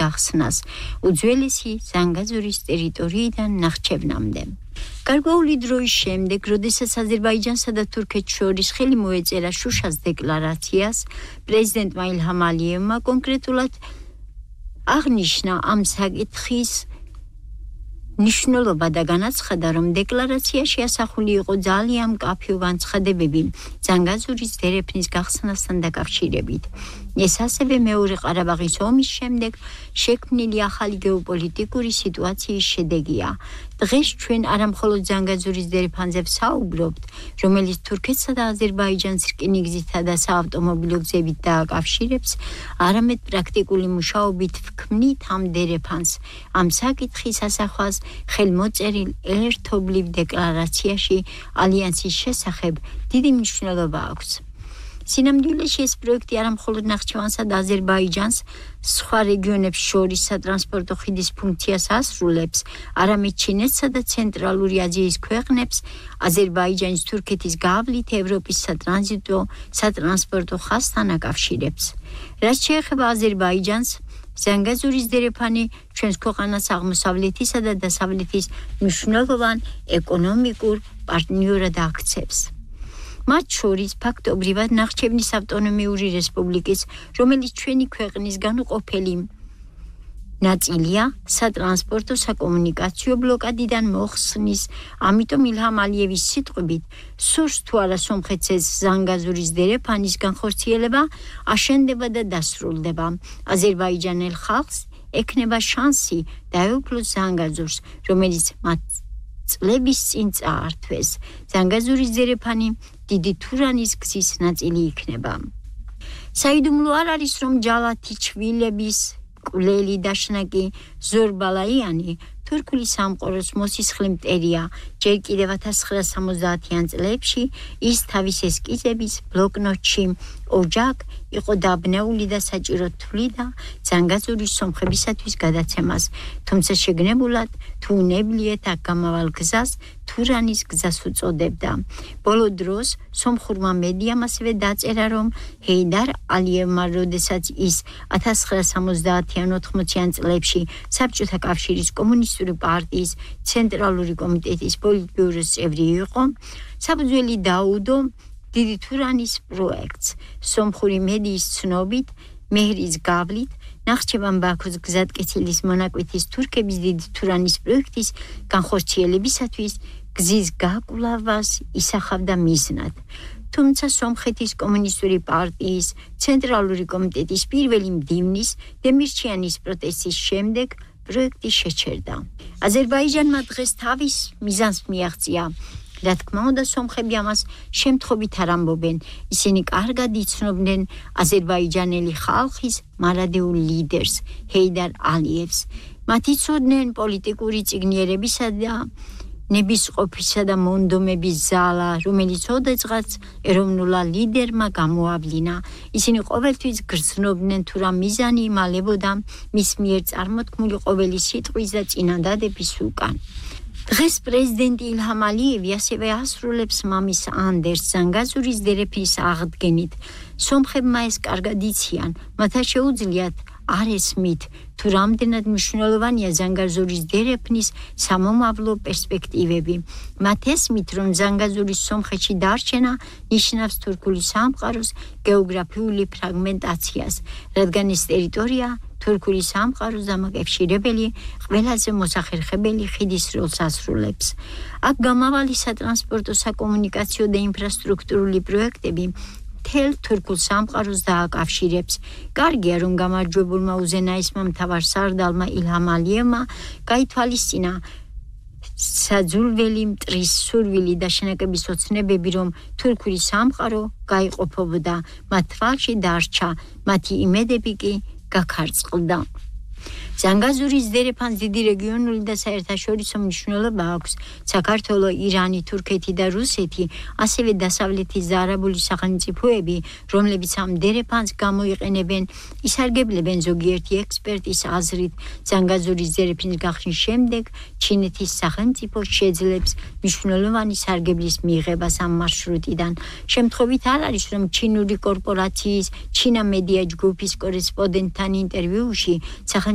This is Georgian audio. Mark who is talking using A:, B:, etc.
A: გახსნას უძველესი ზანგაზურის ტერიტორიიდან ნახჩევნამდე. გარკვეული დროის შემდეგ, როდესაც აზერბაიჯანსა და თურქეთს შორის ხელი მოეწერა შუშას დეკლარაციას, პრეზიდენტმა ილჰამ ალიევმა კონკრეტულად აღნიშნა ამ საკითხის ნიშნულობა და განაცხადა, რომ დეკლარაციაში ასახული იყო ძალიან მკაფიო განცხადებები ზანგაზურის დერეფნის გახსნასთან დაკავშირებით. ეს ასევე მეორე ყარაბაღის ომის შემდეგ შექმნილი ახალი გეოპოლიტიკური სიტუაციის შედეგია. დღეს ჩვენ არა მხოლოდ ზანგაზურის დერეფანზე ვსაუბრობთ, რომელიც თურქეთსა და აზერბაიჯანს რკინიგზითა და საავტომობილო გზებით დააკავშირებს, არამედ პრაქტიკული მუშაობით ვქმნით ამ დერეფანს. ამ საკითხის ასახვას ხელმოწერილ ერთობლივ დეკლარაციაში ალიანსის შესახებ დიდი მნიშვნელობა აქვს. სინამდვილეში ეს პროექტი არა მხოლოდ ნახჩევანსა და აზერბაიჯანს სხვა რეგიონებს შორის სატრანსპორტო ხიდის ფუნქციას ასრულებს, არამედ ჩინეთსა და ცენტრალური აზიის ქვეყნებს აზერბაიჯანის თურქეთის გავლით ევროპის სატრანსპორტო ხაზთან აკავშირებს. რაც შეეხება აზერბაიჯანს, ზანგაზურის დერეფანი ჩვენს ქვეყანას აღმოსავლეთისა და დასავლეთის მნიშვნელოვან ეკონომიკურ პარტნიორად აქცევს. მათ შორის ფაქტობრივად ნახჩევნის ავტონომიური რესპუბლიკის, რომელიც ჩვენი ქვეყნის განუყოფელი ნაწილია, სატრანსპორტო საკომუნიკაციო ბლოკადიდან მოხსნის, ამიტომ ილჰამ ალიევის სიტყვებით, სურს თუ არა სომხეთს ეს ზანგაზურის დერეფანის განხორციელება აშენდება და დასრულდება. აზერბაიჯანელ ხალხს ექნება შანსი დაეუფლოს ზანგაზურს, რომელიც მათ წლების წინ წაართვეს. ზანგაზურის დერეფანი დიდი თურანის გზის ნაწილი იქნება. საიდუმლო არ არის, რომ ჯალათი ჩვილების კვლელი დაშნაკი ზორბალაიანი თურქული სამყაროს მოსისხლე მტერია. ჯერ კიდევ 1970-იან წლებში ის თავის ესკიზების ბლოკნოტში ოჯაკ იყო დაბნეული და საჭირო თვლიდა ზანგაზურის სომხებისათვის გადაცემას, თუმცა შეგნებულად თუ უნებლიეთ აქ გამავალ გზას თურანის გზას უწოდებდა. ბოლო დროს სომხურმა მედიამ ასევე დაწერა, რომ ჰეიდარ ალიევმა, როდესაც ის 1970-80-იან წლებში საბჭოთა კავშირის კომუნისტური პარტიის ცენტრალური კომიტეტის პოლიტბიუროს წევრი იყო, საფუძველი დაუდო დიდი თურანის პროექტს. სომხური მედიის ცნობით, მეჰრის გავლით, ნახჩევან ბაქოს გზატკეცილის მონაკვეთის თურქების დიდი თურანის პროექტის განხორციელებისათვის გზის გაკვლევას ისახავდა მიზნად. თუმცა სომხეთის კომუნისტური პარტიის ცენტრალური კომიტეტის პირველი მდივნის დემირჩიანის პროტესტის შემდეგ პროექტი შეჩერდა. აზერბაიჯანმა დღეს თავის მიზანს მიაღწია. რა თქმა უნდა, სომხები ამას შემთხვევით არ ამბობენ. ისინი კარგად იცნობდნენ აზერბაიჯანელი ხალხის მარადეულ ლიდერს, ჰეიდარ ალიევს. მათ იცოდნენ პოლიტიკური წიგნიერებისა და ნებისყოფისა და მონდომების ზალა, რომელიც ოდესღაც ეროვნულა ლიდერმა გამოავლინა. ისინი ყოველთვის გრძნობდნენ თუ რა მიზანი იმალებოდა მის მიერ წარმოთქმული ყოველი სიტყვის და წინადადების უკან. დღეს პრეზიდენტი ილჰამ ალიევი ასევე ასრულებს მამის ანდერს ზანგაზურის დერეფნის აღდგენით. სომხებმა ეს კარგად იციან, მათ არ შეუძლიათ არ ესმით, თუ რამდენად მნიშვნელოვანია ზანგაზურის დერეფნის სამომავლო პერსპექტივები. მათ ესმით, რომ ზანგაზურის სომხეთში დარჩენა ნიშნავს თურქული სამყაროს გეოგრაფიული ფრაგმენტაციას, რადგან ეს ტერიტორია თურქული სამყაროს დამაკავშირებელი ყველაზე მოსახერხებელი ხიდის როლს ასრულებს. აქ გამავალი სატრანსპორტო, საკომუნიკაციო და ინფრასტრუქტურული პროექტები მთელ თურქულ სამყაროს დააკავშირებს. კარგია, რომ გამარჯვებულმა უზენაესმა მთავარ სარდალმა ილჰამ ალიევმა გაითვალისწინა საძულველი მტრის სურვილი და შენაკების ოცნებები, რომ თურქული სამყარო გაიყოფებოდა, მათ თვალში დარჩა, მათი იმედები კი გაქარწყლდა. ზანგაზურის დერეფანს დიდი რეგიონული და საერთაშორისო მნიშვნელობა აქვს. საქართველო, ირანი, თურქეთი და რუსეთი, ასევე დასავლეთის და არაბული სახელმწიფოები, რომლებიც ამ დერეფანს გამოიყენებენ, ისარგებლებენ ზოგიერთი ექსპერტის აზრით. ზანგაზურის დერეფნის გახსნის შემდეგ ჩინეთის სახელმწიფო შეძლებს მნიშვნელოვანი სარგებლის მიღებას ამ მარშრუტიდან. შემთხვევით არ არის, რომ ჩინური კორპორაციის ჩინა მედია ჯგუფის კორესპონდენტთან ინტერვიუში სახელმწიფო